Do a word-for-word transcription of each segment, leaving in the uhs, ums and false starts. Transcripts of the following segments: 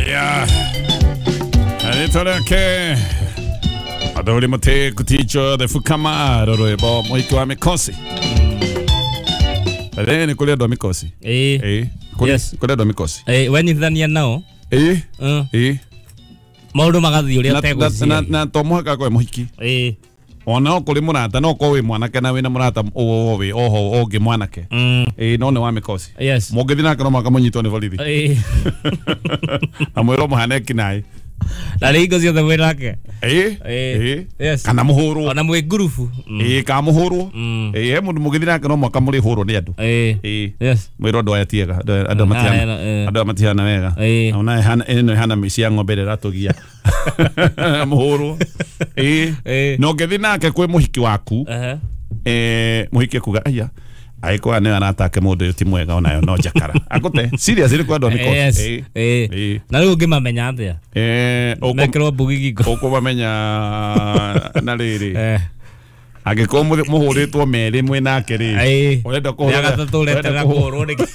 Aya rĩtwa rĩake Athuri Mũtĩ Kuticho the Fukama rwĩmbo mũhiki wa mĩkosi. Rĩrĩ nĩ kũrĩ andũ a mĩkosi. Ĩĩ. Ĩĩ. Kũrĩ Yes. kũrĩ andũ a mĩkosi. Ĩĩ, wenyitithania nao. Ĩĩ. Mm. Ĩĩ. Maũndũ magathiĩ ũrĩa Na- na- na ũtegwĩciria. na to mũhaka akorwo e mũhiki. Ĩĩ. Ona no kũrĩ mũrata no ũkorwo wĩ mwanake na wĩna mũrata ũũ wĩ oho ũngĩ mwanake. Mm. Ĩĩ no nĩ wa mĩkosi. Yes. Mũngĩthiĩ nake no mũhaka mũnyitwo nĩ borithi. Ĩĩ. Na mwĩrwo mũhane kinaĩ. Na rĩ hingo ciothe mwĩ nake. Ĩĩ. Ĩĩ. Ĩĩ. Yes. Kana mũhũrwo. Ona mwĩ ngurubu. Mm. Ĩĩ kana mũhũrwo. Mm. Ĩĩ he mũndũ mũngĩthiĩ nake no mũhaka mũrĩhũrwo nĩ andũ. Ĩĩ. Ĩĩ. Yes. Mwĩrwo andũ aya ti ega. Andũ aya- andũ aya matihana Ah, eh. andũ aya matihana wega. Ĩĩ. Ona ĩhana ĩno ĩhana mĩciĩ ya ng'ombe ĩrĩa ĩratũgia. Mũhũrwo. Ĩĩ. Ĩĩ. Na ũngĩthiĩ nake kwĩ mũhiki waku Ehe. eh mũhiki akuga aya agĩkorwo nĩwe aratake mũndũ ũyũ ti mwega onayo no njakara akũte serious ĩrĩ kwa andũ a mĩkosi. Yes. Ĩĩ. Ĩĩ. Ĩĩ. Na rĩu ũngĩmamenya atĩa? Eh, ũkũ- Mekĩrwo mbugi ngingo. ũkũmamenya na rĩrĩ Eh. angĩkorwo mũthĩ- mũhũrĩtwo merĩ mwĩ nake rĩ Ĩĩ. ũrenda Rĩa kũhũrĩra gatatũ ũretera kũhũrwo nĩkĩ?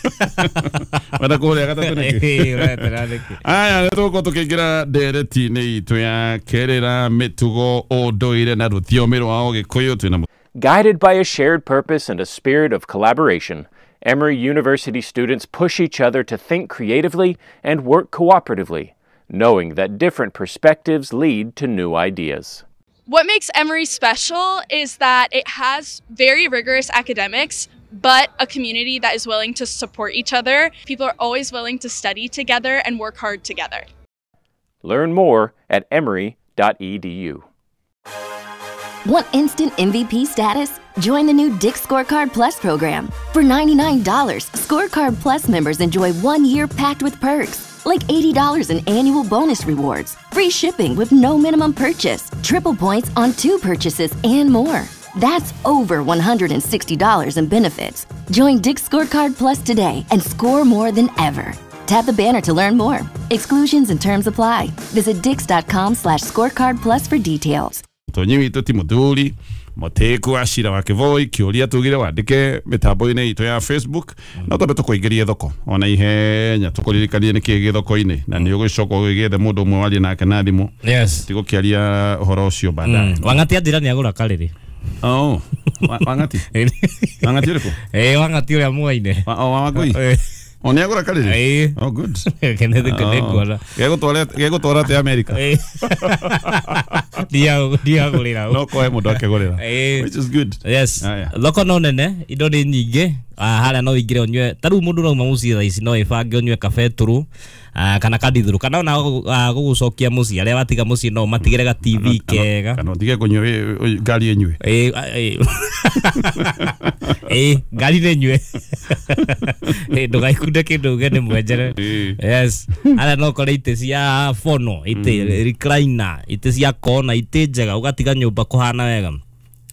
ũrenda kũhũrĩra gatatũ nĩkĩ? Ĩĩ, ũretera nĩkĩ? Aya nĩ tũgũkorwo tũkĩingĩra ndereti-inĩ itũ ya kerĩra mĩtugo ũndũire na rũthiomi rwa ũgĩkũyũ twĩna Guided by a shared purpose and a spirit of collaboration, Emory University students push each other to think creatively and work cooperatively, knowing that different perspectives lead to new ideas. What makes Emory special is that it has very rigorous academics, but a community that is willing to support each other. People are always willing to study together and work hard together. Learn more at emory dot e d u. Want instant M V P status? Join the new Dick's Scorecard Plus program. For ninety-nine dollars, Scorecard Plus members enjoy one year packed with perks, like eighty dollars in annual bonus rewards, free shipping with no minimum purchase, triple points on two purchases, and more. That's over one hundred sixty dollars in benefits. Join Dick's Scorecard Plus today and score more than ever. Tap the banner to learn more. Exclusions and terms apply. Visit dicks.com slash scorecard plus for details. Tonyi witũ ti mũthuri mũtĩku wa cira wa Kĩvoi kĩũria tugire wandĩke mĩtambo-inĩ itũ ya Facebook no twambe tũkũingĩrie thoko ona ihenya tũkũririkanie nĩkĩĩ gĩ thoko-inĩ na nĩ ũgũcoka ũgĩethe mũndũ ũmwe warie nake na thimũ Yes. tigũkĩaria ũhoro ũcio baadaye. Mm. Wang'ati anjĩra nĩ agũra karĩrĩ. Oh, wa- Wang'ati Wang'ati ũrĩkũ? Ĩĩ, Wang'ati ũrĩa mwaine. Wa- oh, wa Wangũi? Ĩĩ. O nĩ agũra karĩrĩ? Ĩĩ. Oh, good. Kenneth nĩnguona. Gegũtwara gegũtwara atĩa America? Ĩĩ. Ndia- ndiagũrĩra. No kohe mũndũ akĩgũrĩra. Ĩĩ. Which is good. Yes. Aya. Thoko no nene, indo nĩ nyingĩ. Ah, harĩa no ũingĩre ũnyue. Ta rĩu mũndũ ũrauma mũciĩ thaa ici no ĩbange ũnyue kabetũrũ, ah, kana kadithũrũ, kana ona gũgũ-, ah, gũgũcokia mũciĩ. Arĩa watiga mũciĩ no matigĩre ga T V kega. Kana ũtige kũnyua wĩ-, wĩ-, ngari ĩnyue. Ĩĩ, a-, ĩĩ. Ĩĩ, ngari nĩ ĩnyue. Ĩĩ, ndũgaikunde kĩndũ uge nĩ mwenjere. Ĩĩ. Yes. Harĩa no ũkore itĩ cia fono, itĩ recliner, itĩ cia kona, itĩ njega, ũgatiga nyũmba kũhana wega.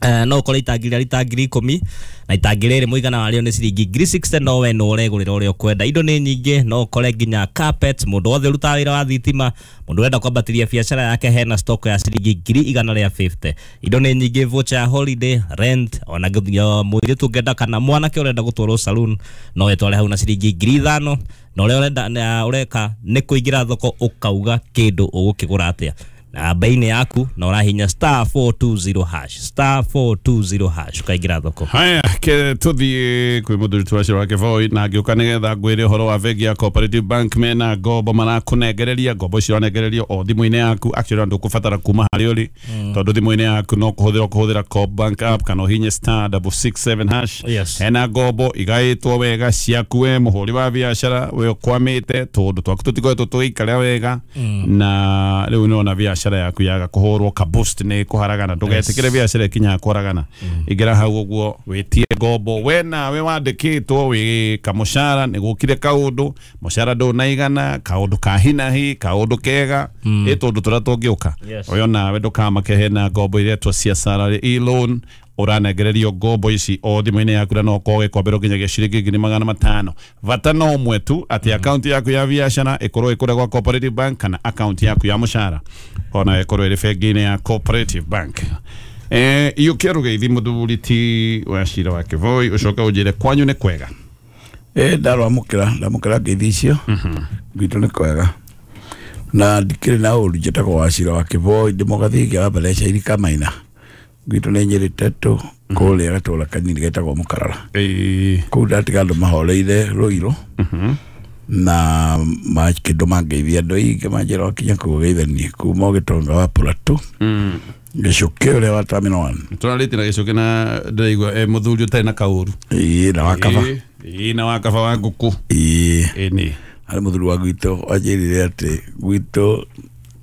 Eh, no ũkore itangi rĩa rita ngiri ikũmi na itangi rĩrĩ mũigana warĩo nĩ ciringi ngiri sixty no we no ũregũrĩra ũrĩa ũkwenda. Indo nĩ nyingĩ, no ũkore nginya carpet, mũndũ wothe ũrutaga wĩra wa thitima, mũndũ ũrenda kwambatĩria biacara yake hena stock ya ciringi ngiri igana rĩa fifty. Indo nĩ nyingĩ, voucher ya holiday, rent, ona nginya mũirĩtu ũngĩenda kana mwanake ũrenda gũtwarwo saloon no wĩtware hau na ciringi ngiri ithano, na ũrĩa ũrenda, na ũreka nĩ kũingĩra thoko ũkauga kĩndũ ũgũkĩgũra atĩa na bei-inĩ yaku, na ũrahinya star four two zero hash, star four two zero hash ũkaingĩra thoko. Haya, ke tũthiĩ kwĩ mũthuri tu wa Kĩvoi na ngĩũka nĩgetha ngwĩre ũhoro wa bengi ya Cooperative Bank mena ngombo marakũnengereria, ngombo icio ũranengererio o thimũ-inĩ yaku, actually ndũkũbatara kuma harĩa ũrĩ tondũ thimũ-inĩ yaku no kũhũthĩra ũkũhũthĩra Coop Bank app kana ũhinye star double six seven hash. Yes. Hena ngombo igaĩtwo wega ciaku we mũhũri wa biacara we ũkwamĩte tondũ twaku tũtikoretwo tũgĩikara wega na rĩu nĩwona biacara yaku yaga kũhũrwo ka boost nĩ kũharagana, ndũgetĩkĩre biacara ĩkinyaga kũharagana. Ingĩra hau ũguo wĩtie ngombo, we nawe wandĩkĩtwo wĩ kamũcara nĩ gũkire kaũndũ, mũcara ndũnaigana, kaũndũ ka hinahi, kaũndũ kega, ĩ tũndũ tũrĩa tũngĩũka. Yes. Ũyũ nawe ndũkamake, hena ngombo iretwo cia salary e-loan, ũranengererio ngombo ici o thimũ-inĩ yaku na no ũkorwo ũgĩkomberwo nginyagia ciringi ngiri magana matano. Bata no ũmwe tu atĩ akaunti yaku ya biacara ĩkorwo ĩkũrĩa gwa Cooperative Bank kana akaunti yaku ya mũcara ona ĩkorwo ĩrĩ bengi-inĩ ya Cooperative Bank. Eh, iyũkia rũgeithi mũthuri ti wa cira wa Kĩvoi ũcoke ũnjĩre kwanyu nĩ kwega. Eh, ndarwamũkĩra, ndamũkĩra ngeithi icio. Gwitũ nĩ kwega. Na ndikĩrĩ na ũru njĩtagwo Wacira wa Kĩboi ndĩ mũgathĩki wa Mbereca irika maina gwitũ nĩ Nyĩrĩ Tetũ kũrĩa gatũra kanini getagwo Mũkarara. Ĩĩ. Kũu ndatiga andũ mahoreire Rũirũ na makĩndũ mangeithia andũ aingĩ manjĩra wakinya kũu geithanie kuma ũgĩtonga wa Plateau Gĩcũkĩ ũrĩa wa Terminal One. Tũrarĩtie na Gĩcũkĩ na ndĩraigua e mũthuri ũtarĩ na kaũru. Ĩĩ na wakaba. Ĩĩ na wakaba wa ngũkũ. Ĩĩ. Ĩĩ. Harĩ mũthuri wa gwitũ wanjĩrire atĩ gwitũ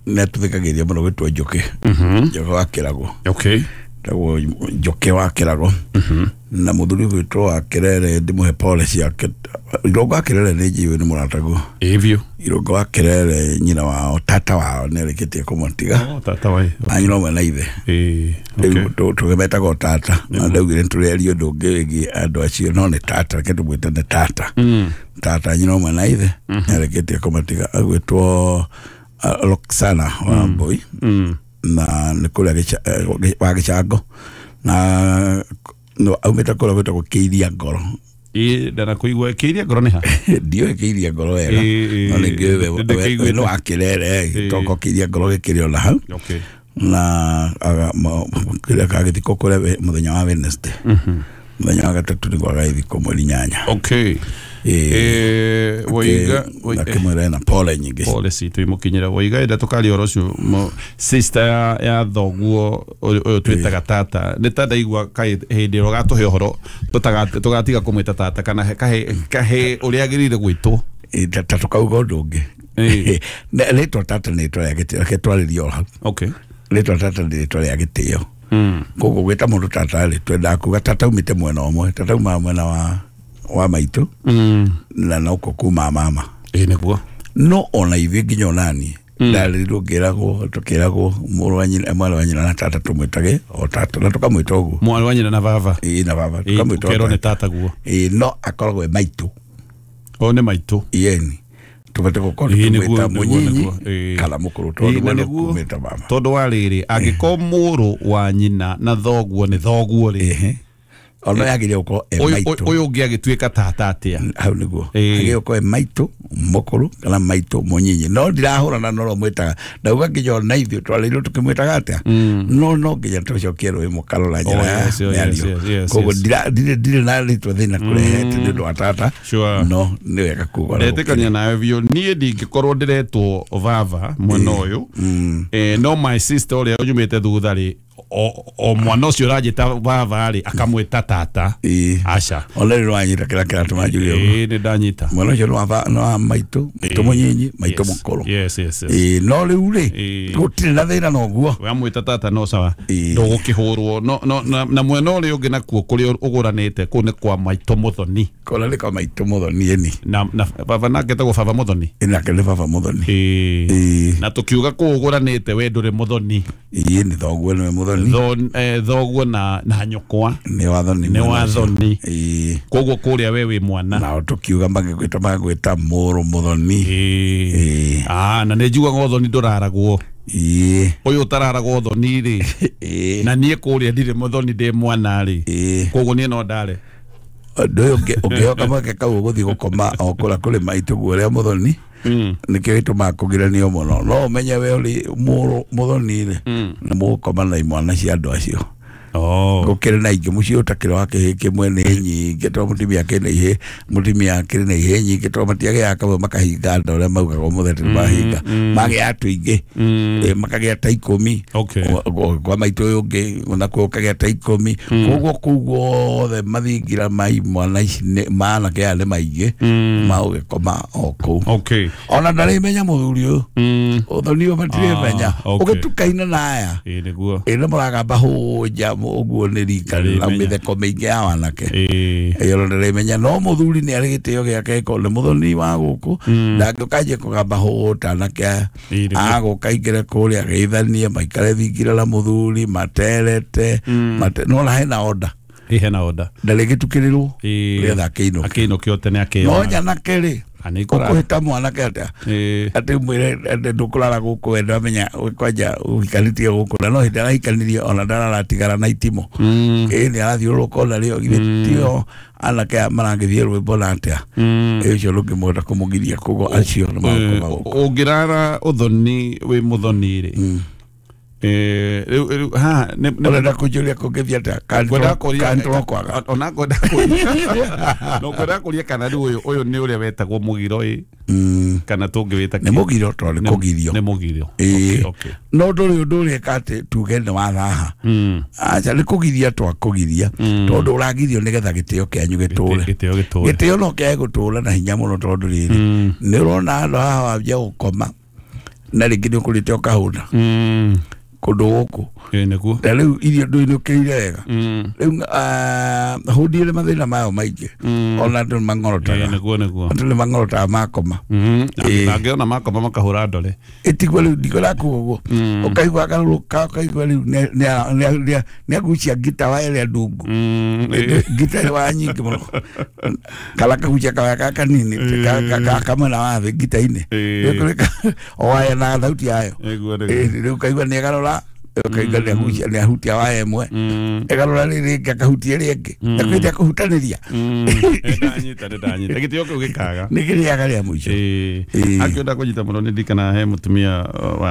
nĩ atũthikagĩria mũno gwĩtwo Njũkĩ. Njũkĩ wa Kĩrago. Okay. Tagwo Njũkĩ wa Kĩrago. Na mũthuri gwitũ wa Kĩrere ndĩmũhe pole ciake. Irongo wa Kĩrere nĩ njiũĩ nĩ mũrataguo. Ĩĩ biũ. Irongo wa Kĩrere nyina wao tata wao nĩ arĩkĩtie kũmũtiga. Oh, tata wae. A nyina ũmwe na ithe. Ĩĩ. Okay. Rĩu tũgĩmetagwo tata. Na ndaugire nĩtũreria ũndũ ũngĩ wĩgiĩ andũ acio no nĩ tata reke tũmwĩte nĩ tata. Tata nyina ũmwe na ithe nĩ arĩkĩtie kũmatiga agwĩtwo Roxana wa Mbui. Na nĩ kũrĩa wa Gĩcango na aumĩte kũrĩa gwĩtagwo Kĩiria Ngoro. Ĩĩ ndanakuigua Kĩiria Ngoro nĩ ha? Ndiũĩ Kĩiria Ngoro wega no nĩ ngĩũĩ we nĩ wa Kĩrere toko Kĩiria Ngoro gĩkĩrĩ ona hau. Okay. Na kĩrĩa gagĩthikwo kũrĩa mũthenya wa Wednesday. Mũthenya wa gatatũ nĩguo agagĩthikwo mweri inyanya. Okay. Eh Waiga akĩmwĩra ena pole nyingĩ. Pole citũ imũkinyĩra Waiga enda tũkaria ũhoro ũcio sister ya, ya thoguo ũyũ twĩtaga tata nĩ ta ndaigua kaĩ hĩndĩ ĩrĩa ũgatũhe ũhoro tũgatiga kũmwĩta tata kana kahe kahe ũrĩa agĩrĩire gwĩtwo. Ta tũkauga ũndũ ũngĩ. Rĩtwa tata nĩ rĩtwa rĩa gĩtĩo reke twarĩrie o hau. Okay. Rĩtwa tata nĩ rĩtwa rĩa gĩtĩo. Koguo gwĩta mũndũ tata rĩ twendaga kuga tata aumĩte mwena ũmwe tata aumaga mwena wa wa maitũ na noko kuma mama. Ĩĩ nĩguo. No ona ithuĩ nginya onani ndarĩrirwo ngĩragwo tũkĩragwo mũrũ wa nyina mwarĩ wa nyina na tata tũmwĩtage o tata na tũkamwĩta ũguo. Mwarĩ wa nyina na baba. Ĩĩ na baba tũkamwĩta ũkerwo nĩ tata guo. Ĩĩ no akoragwo e maitũ. O nĩ maitũ. Ĩni tũbate gũkorwo tũmwĩta mũnyinyi kana mũkũrũ tondũ we nĩkũmĩta mama. Tondũ wa rĩrĩ angĩkorwo mũrũ wa nyina na thoguo nĩ thoguo rĩ ona yagĩrĩire gũkorwo e maitũ. Ũyũ ũngĩ agĩtuĩka tata atĩa? Hau nĩguo agĩrĩire gũkorwo e maitũ mũkũrũ kana maitũ mũnyinyi no ndirahũrana na ũrĩa mwĩtaga ndauga nginya ona ithuĩ twarĩirwo tũkĩmwĩtaga atĩa no no nginya tũcokie rũĩ mũkarora njĩra ya mĩario koguo ndirĩ ndirĩ na rĩtwa thĩna kũrehete nĩ ũndũ wa tata no nĩ wega kuga. Ndetĩkania nawe biũ niĩ ndingĩkorwo ndĩretwo baba mwena ũyũ no my sister ũrĩa ũnyumĩte thutha rĩ o mwana ũcio ũranjĩta baba rĩ akamwĩta tata. Aca ona rĩrĩ wanyita kĩrĩa kĩratũma njuge ũguo. Ĩĩ nĩ ndanyita mwana ũcio nĩ wa maitũ maitũ mũnyinyi maitũ mũkũrũ. Yes yes yes. Ĩĩ no rĩu rĩ gũtirĩ na thĩna na ũguo wamwĩta tata no sawa ndũgũkĩhũrwo no no na mwena ũrĩa ũngĩ nakuo kũrĩa ũgũranĩte kũu nĩ kwa maitũ mũthoni. Kũrĩa nĩ kwa maitũ mũthoni ĩni na na baba nake etagwo baba mũthoni. Ĩ nake nĩ baba mũthoni. Ĩĩ na tũkiuga kũu ũgũranĩte we ndũrĩ mũthoni. Ĩĩ nĩ thoguo nĩwe mũthoni. Thoguo na na nyũkwa nĩ wathoni nĩ wathoni. Ĩĩ koguo kũrĩa we wĩ mwana nao tũkiuga magĩkwĩta magĩkwĩta mũrũ mũthoni. Ĩĩ ah na nĩ njugaga ũthoni ndũraragwo. Ĩĩ ũyũ ũtararagwo ũthoni rĩ na niĩ kũrĩa ndirĩ mũthoni ndĩ mwana rĩ koguo niĩ no ndare ũndũ ũyũ ũngĩhoka mweke kau ũgũthiĩ gũkoma o kũrĩa kũrĩ maitũ guo ũrĩa mũthoni nĩkĩo gĩtũmaga kũgiranio mũno no ũmenye we ũrĩ mũrũ mũthoni rĩ nĩ mũgũkoma na imwana cia andũ acio. Gũkĩrĩ na ingĩ mũciĩ ũtakĩrĩ wa kĩhĩ kĩmwe nĩ nyingĩ tondũ mũtumia akĩrĩ na ihĩ mũtumia akĩrĩ na ihĩ nyingĩ tondũ matiagĩaga kamwe makahinga nda ũrĩa maugaga ũmũthĩ atĩ nĩmahinga magĩa tũingĩ makagĩa ta ikũmi kwa maitũ ũyũ ũngĩ nakuo ũkagĩa ta ikũmi koguo kũu guothe mathingira ma imwana ici ma anake aya nĩ maingĩ ma ũgĩkoma o kũu. Ona ndarĩmenya mũthuri ũyũ ũthoni ũyũ matirĩmenya ũgĩtukaine na aya ĩ nĩ mũragamba hũnja ũguo nĩ rika na mĩtheko mĩingĩ ya wanake ĩyo ndĩrĩmenya no mũthuri nĩ arĩ gĩtĩo gĩake ko nĩ mũthoni wa gũkũ ndangĩũka anjie kũgamba hũta anake aya agũka aingĩre kũrĩa ageithanie maikare thingira na mũthuri materete no na hena order ĩ hena order ndarĩgĩtukĩrĩrwo nĩgetha akĩinũke akĩinũke tene akĩona no nyanake rĩ Ũkũhĩta mwanake atĩa atĩ mwĩre atĩ ndũkũrara gũkũ we ndamenya kwanja ũhikanĩtie gũkũ na no hĩndĩ arahikanirie ona ndararatigara na itimũ ĩĩ nĩ arathiũrũrũka ona rĩo githĩ tio anake aya maragĩthiĩ rwĩmbo na atĩa ĩ ũcio ndũngĩmũhota kũmũgiria koguo acio nĩ magũkoma gũkũ ũngĩrara ũthoni wĩ mũthoni rĩ eh rĩu ha ũrenda kũnjũria kũngĩthiĩ atĩa kandoro kwaga ona ngwenda kũria no ngwenda kũria kana rĩu ũyũ ũyũ nĩ ũrĩa wetagwo mũgiro ĩ kana tũngĩwĩta nĩ mũgiro tondũ nĩ kũgirio nĩ mũgirio no ndũrĩ ũndũ ũreka atĩ tuge nĩ wathaha aca nĩ kũgiria twakũgiria tondũ ũragirio nĩgetha gĩtĩo kĩanyu gĩtũre gĩtĩo no kĩage gũtũra na hinya mũno tondũ rĩrĩ nĩ ũrona handũ haha wambia gũkoma na rĩngĩ nĩ ũkũrĩte ũkahũna kũndũ gũkũ nĩguo na rĩu irio ndũinũkĩire wega rĩu hũndire mathĩna mayo maingĩ ona andũ nĩ mang'orotaga nĩguo nĩguo andũ nĩ mang'orotaga makoma angĩona makoma makahũra ndore ĩtiguo rĩu ndikwĩra kuga ũguo ũkaigua agarũrũka ũkaigua rĩu nĩ agucia ngita waya ĩrĩa ndungu ngita ĩrĩa waya nyingĩ mũno kana kagucia kawaya gaka kanini kamwena wa thĩ ngita-inĩ o waya na thauti yayo rĩu ũkaigua nĩ agarũra ũkaigua nĩ agucia nĩ ahutia waya ĩmwe ĩgarũra rĩrĩ akahutia ĩrĩa ĩngĩ na kwĩrĩa kũhutanĩria ndanyita ndanyita gĩtĩo kĩu gĩkaga nĩ kĩrĩaga rĩa mũico akĩenda kũnyita mũno nĩ ndikana he mũtumia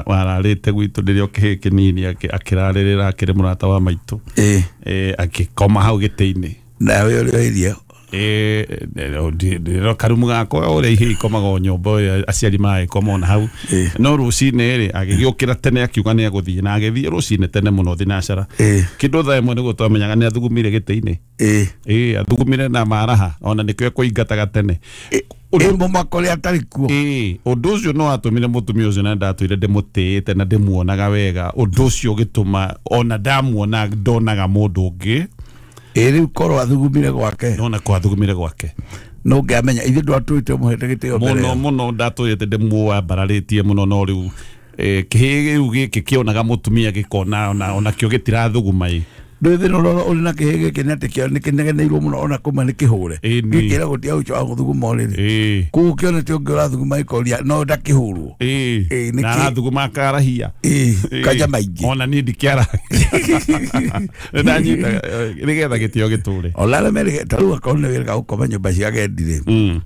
wararĩte gwitũ rĩrĩa o kĩhĩĩ kĩnini akĩrarĩrĩra akĩrĩ mũrata wa maitũ akĩkoma hau gĩtĩ-inĩ nawe ũrĩa irio eh karumu gakwa ũrĩa ihĩ ikomaga o nyũmba aciari magĩkoma ona hau no rũcinĩ rĩ agĩgĩũkĩra tene akiuga nĩ egũthiĩ na agĩthiĩ rũcinĩ tene mũno thinacara kĩndũ thaa ĩmwe nĩguo twamenyaga nĩ athugumire gĩtĩ-inĩ ĩĩ athugumire na maraha ona nĩkĩo ekũingataga tene mũmako ũrĩa atarĩ kuo ĩĩ ũndũ ũcio no watũmire mũtumia ũcio na ndatũire ndĩmũtĩĩte na ndĩmuonaga wega ũndũ ũcio ũgĩtũma ona ndamuona ndonaga mũndũ ũngĩ ĩ rĩu korwo athugumire gwake nona ko athugumire gwake no ngĩamenya ithuĩ ndwatũĩte mũhete gĩtĩo mbere mũno mũno ndatũĩte ndĩmuambararĩtie mũno no rĩu kĩhĩĩ rĩu gĩkĩ kĩonaga mũtumia gĩkona ona onakĩo gĩtirathuguma ĩ ndũĩ thĩna ũrĩa ũrĩ na kĩhĩĩ gĩkĩ nĩ atĩ kĩo nĩkĩnegeneirwo mũno ona kũma nĩ kĩhũre gĩkĩra gũtia ũcio wa gũthuguma ũrĩrĩ koguo kĩonete ũngĩ ũrathuguma gĩkoria no ndakĩhũrwo na arathuguma akarahia kanja maingĩ ona niĩ ndikĩara nĩndanyita nĩgetha gĩtĩo gĩtũre ona arĩa merĩ ta rĩu akorwo nĩ wĩrĩga gũkoma nyũmba cia agendi rĩ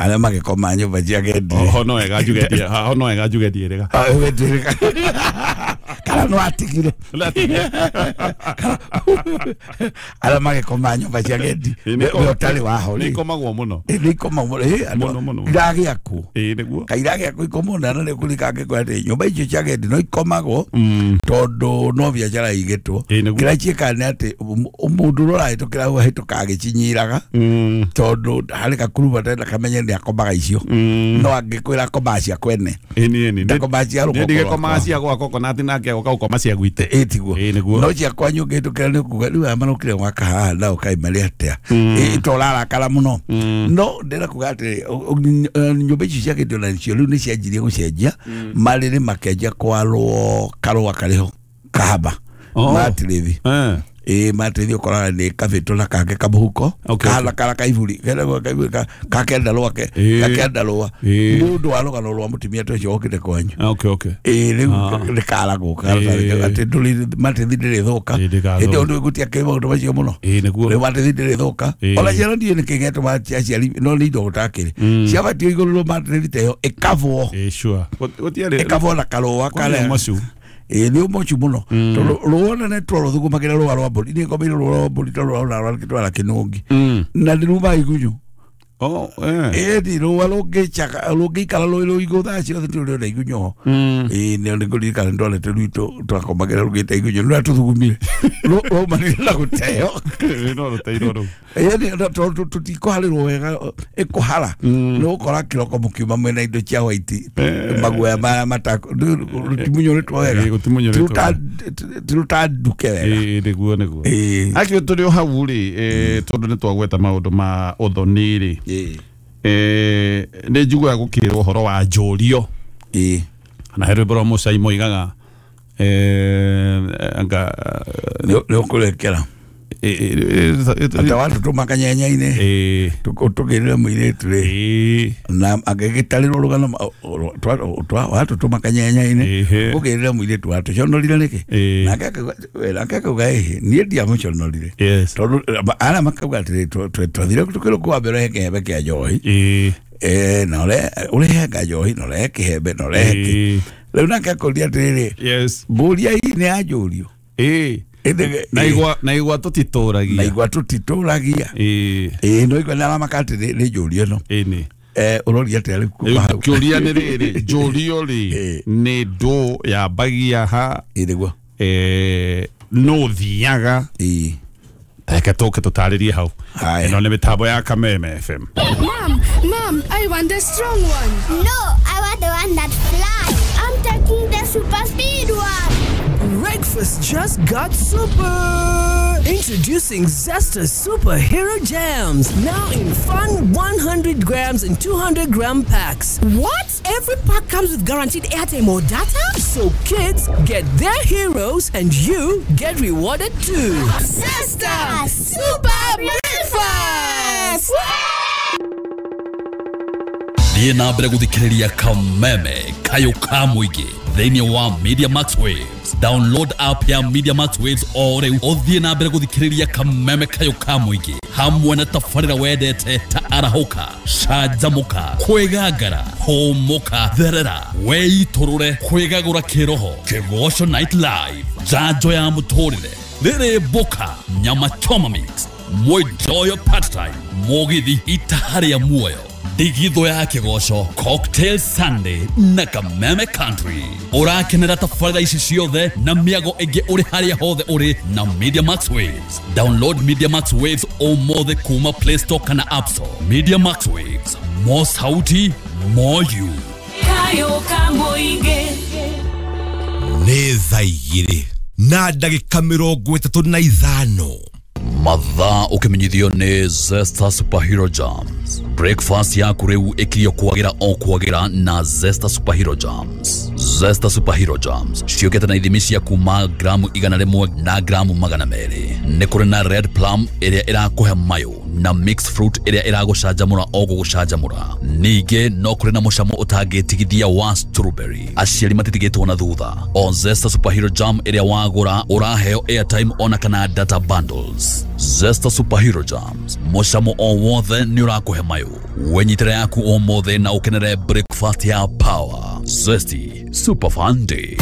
arĩa magĩkoma nyũmba cia agendi ho no wega njuge ho no wega njuge ndiĩrĩga kana no atigire arĩa magĩkoma nyũmba cia agendi we ũtarĩ waho nĩ ikomagwo mũno nĩ ikomagwo mũno iragĩakwo ĩĩ nĩguo kairagĩakwo ikomwo na nĩ kũrika angĩkorwo atĩ nyũmba icio cia agendi no ikomagwo tondũ no biacara igĩtwo kĩrĩa ciĩkaga nĩ atĩ mũndũ ũrĩa ũrahĩtũkĩra hau ahĩtũkaga agĩcinyiraga tondũ harĩ gakuruba tena kamenye nĩ akomaga icio no angĩkwĩra akomaga cia kwene ndakomaga cia rũgongo ndigĩkomaga cia gwakwa konati nake agoka gũkoma cia gwitũ ĩ tiguo no cia kwanyu ũngĩhĩtũkĩra nĩ kuga rĩu aya marokire gwaka haha nao kaĩ marĩ atĩa ĩ to ũrarakara mũno no ndĩrenda kuga atĩrĩ nyũmba icio cia kĩndũ nacio rĩu nĩ cianjirie gũcenjia marĩrĩ makĩanjia kwarwo karũa karĩ ho kahaba matĩrĩthi ĩ matĩrĩthi ũkoraga nĩ kabĩtũ na kangĩ kamũhuko kahana kara kaiburi kenagwo kaiburi gakenda rwake gakenda rũa nĩ ũndũ wa rũgano rwa mũtumia ta ũcio wokĩte kwanyu ĩ rĩu nĩ karagwo atĩ ndũrĩ matĩrĩthi ndĩrĩthũka hĩndĩ ĩyo ndũgũtia kĩ maũndũ macio mũno rĩu matĩrĩthi ndĩrĩthũka ona ciana ndiũĩ nĩkĩ gĩatũma aciari no nĩ indo gũtakĩrĩ ciabatiĩ igũrũrwo matĩrĩthi ta ĩyo ĩkabwo ĩkabwo na karũa karĩa ĩ nĩ ũmocu mũno tondũ rũa nene twarũthugumagĩra rũa rwa mbũri niĩ ngomeire rũa rwa mbũri ta rũa rũratwara kĩnũngi na nĩ rumaga igunyũ ĩni rũa rũngĩikara rũĩ rũigũ thaa ciothe nĩ ũrĩona igunyũ ho ĩ nĩ ngũririkana nĩndonete rwitũ twakomagĩra rũgĩte igunyũ rũrĩa tũthugumire rwaumanire na gũteo ĩni tondũ tũtikũharĩrwo wega ĩkũhara nĩ ũgũkora kĩroko mũkiuma mwĩna indo cia white maguoya maya rũtimunyũrĩtwo wega tirũtanduke wega nĩguo nĩguo akĩo tũrĩ o hau rĩ tondũ nĩ twagweta maũndũ ma ũthoni rĩ eh nĩ njiguaga gũkĩrwo ũhoro wa njũrio na he rwĩmbo rwa Mũcai moigaga eh anga nĩ ũkũrekera Ata watu tumakanyenya-inĩ ĩĩ tũkĩrĩre mũirĩtu rĩ ĩĩ na agĩgĩtarĩrwo rũgano watu tumakanyenya-inĩ Ĩhĩ. ũkĩrĩre mũirĩtu watũconorire nĩkĩ Ĩĩ. nake akauga- nake akauga ĩhĩ niĩ ndiamũconorire Yes. tondũ arĩa makauga atĩrĩ twathire tũkĩrwo kwambere he kĩhembe kĩa njohi ĩĩ Eh, na ũre ũrehenga njohi na ũrehe kĩhembe na ũrehe kĩ Ĩĩ. rĩu nake akũria atĩrĩrĩ yes mbũria ii nĩ yanjũrio ĩĩ Ĩndĩ- na igwa na igwa tũtitũragia na igwa tũtitũragia ĩĩ ĩĩ no igwa nĩ aramaka atĩ nĩ nĩ njũrio ĩno ĩĩ nĩ Eh, ũroria atĩa rĩu kuma Rĩu hau kĩũria nĩ rĩrĩ njũrio rĩ Ĩĩ. nĩ ndũ yambagia ha Ĩĩ nĩguo eh, no thiaga ĩĩ reke tũke tũtarĩrie hau Haya. ĩno nĩ mĩtambo ya Kameme F M. Mom, Mom, I want the strong one. No, I want the one that flies. I'm taking the super speed one. Breakfast just got super! Introducing Zesta Superhero Jams, now in fun one hundred grams and two hundred gram packs. What? Every pack comes with guaranteed airtime or data? So kids get their heroes and you get rewarded too. Zesta Super Breakfast! Thiĩ na mbere gũthikĩrĩria Kameme kayũ ka mũingĩ thĩinĩ wa Media Max Waves. Download app ya Media Max Waves o rĩu ũthiĩ na mbere gũthikĩrĩria Kameme kayũ ka mũingĩ hamwe na tabarĩra wendete ta arahũka, canjamũka, kwĩgangara, hũmũka, therera, weitũrũre, kwĩgagũra kĩroho, Kĩgoco Night Live, njanjo ya mũtũrĩre, rĩrĩ mboka, nyama choma mix, mwenjoyo part time, mũgithi itaha rĩa muoyo, ndigithũ ya kĩgoco, Cocktail Sunday na Kameme Country. Ũrakenera tabarĩra ici ciothe na mĩago ĩngĩ ũrĩ harĩa hothe ũrĩ na Media Max Waves. Download Media Max Waves ũmũthĩ kuma Play Store kana App Store. Media Max Waves, more sauti, more you. Kayo ka mũingĩ. Nĩ thaa igĩrĩ na ndagĩka mĩrongo ĩtatũ na ithano. Mathaa ũkĩmenyithio nĩ Zesta Superhero Jams. Breakfast yaku rĩu ĩkirio kwagĩra o kwagĩra na Zesta Superhero Jams. Zesta Superhero Jams ciũkĩte na ithimi cia kuma gramu igana rĩmwe na gramu magana merĩ. Nĩ kũrĩ na red plum ĩrĩa ĩrakũhe mayũ na mixed fruit ĩrĩa ĩragũcanjamũra o gũgũcanjamũra. Ningĩ no kũrĩ na mũcamo ũtangĩtigithia wa strawberry. Aciari matitigĩtwo na thutha. O Zesta Superhero Jam ĩrĩa wagũra ũraheo airtime ona kana data bundles. Zesta Superhero Jams, mũcamo o wothe nĩ ũrakũhe mayũ. Wenyitĩre yaku ũmũthĩ na ũkenere breakfast ya power. Zesty Super Fun Day.